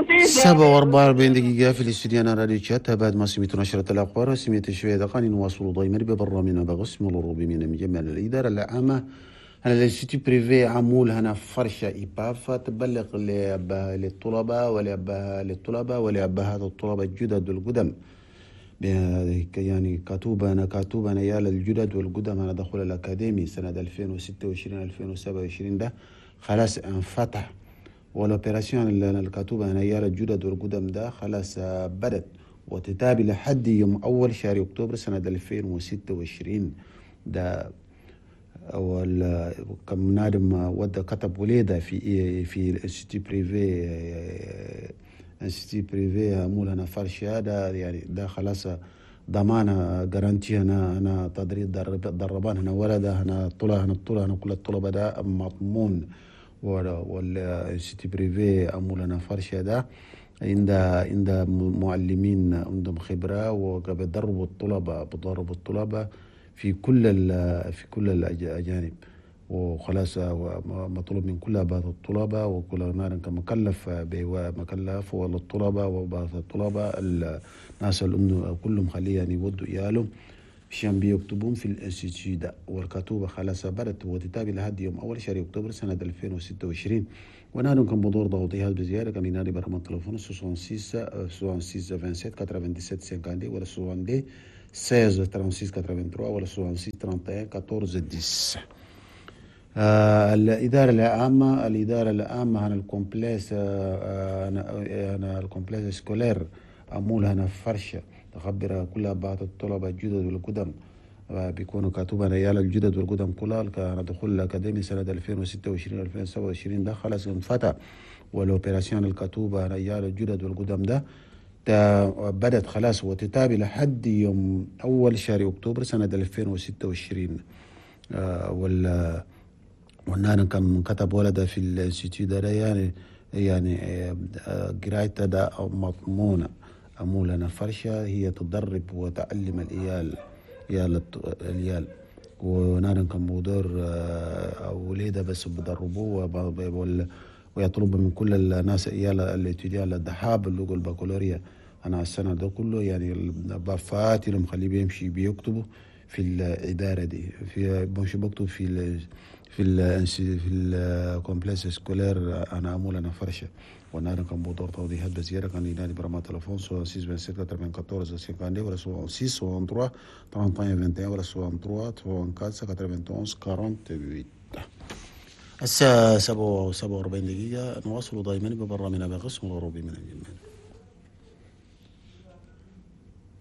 7:44 دقيقة في الاستوديو راديو تشات. بعد ما سميتوا نشرة الأخبار وسميت شوية دقائق، نواصلوا دائما ببرنامجنا بغسم الروبي من مجمع الإدارة العامة هنا ال institut privé عمول هنا فرشة إيباف تبلغ للطلبة وللطلبة ولأبهات الطلبة الجدد والقدم، يعني كاتوبة يا الجدد والقدم أنا دخول الأكاديمي سنة 2026 2027 ده خلاص انفتح، وال opération اللي الكاتوبة أنا يا الجدد والقدم ده خلاص بدت وتتابع لحد يوم أول شهر أكتوبر سنة 2026 ده. كم نادم ودى كتب وليدة في ال institut privé، institut privé مولانا فرشة ده، يعني ده خلاص ضمانة garantie هنا تدريب دربان هنا ولده هنا طلع هنا الطلع هنا كل الطلبة ده مضمون. وال institut privé مولانا فرشة ده عند معلمين عندهم خبرة وبيدربوا الطلبة، بيدربوا الطلبة في كل الأجانب. وخلاص مطلوب من كل بعض الطلبة وكل نار مكلف مكلف والطلبة وبعض الطلبة الناس اللي كلهم خليه يعني يودوا إيالهم عشان بيكتبون في ال institut ده. والكتوبة خلاص بدت وتتابع لحد يوم أول شهر أكتوبر سنة 2026. ونحن كان بدور ضوضيات بزيادة كان ينادي برقم التليفون 66 66 27 97 50 ولا 62 16 36 83 ولا 66 31 14 10. الإدارة العامة، الإدارة العامة هنا ال complexe، هنا ال complexe scolaire أمول هنا فرشة تخبر كل بعض الطلبة الجدد والقدم بيكونوا كاتوبة ريال الجدد والقدم كلها كان دخول الأكاديمي سنة 2026 2027 ده خلاص انفتح. وال opération الكاتوبة ريال الجدد والقدم ده بدت خلاص وتتابع لحد يوم أول شهر أكتوبر سنة 2026. والنان كان كتب ولده في ال institut ده يعني قرايته ده مضمونة. أمولنا فرشة هي تدرب وتعلم الإيال الإيال. ونان كان مدير وليدة بس بدربوه ويطلب من كل الناس إيال الاتجاه الدحاب اللغة البكالوريا. أنا السنة ده كله يعني البافات اللي مخليه بيمشي بيكتبوا في الإدارة دي، في بمشي بكتب في ال في ال في ال complexe scolaire أنا أمول أنا فرشة. ونار كان بدور توضيحات بزيادة كان ينادي برقم التليفون 66 27 94 52 ولا 66 63 31 21 ولا 63 34 91 48. الساعة 7:47 دقيقة. نواصل دائما ببرنامجنا بقسم الغروبي من الجمال.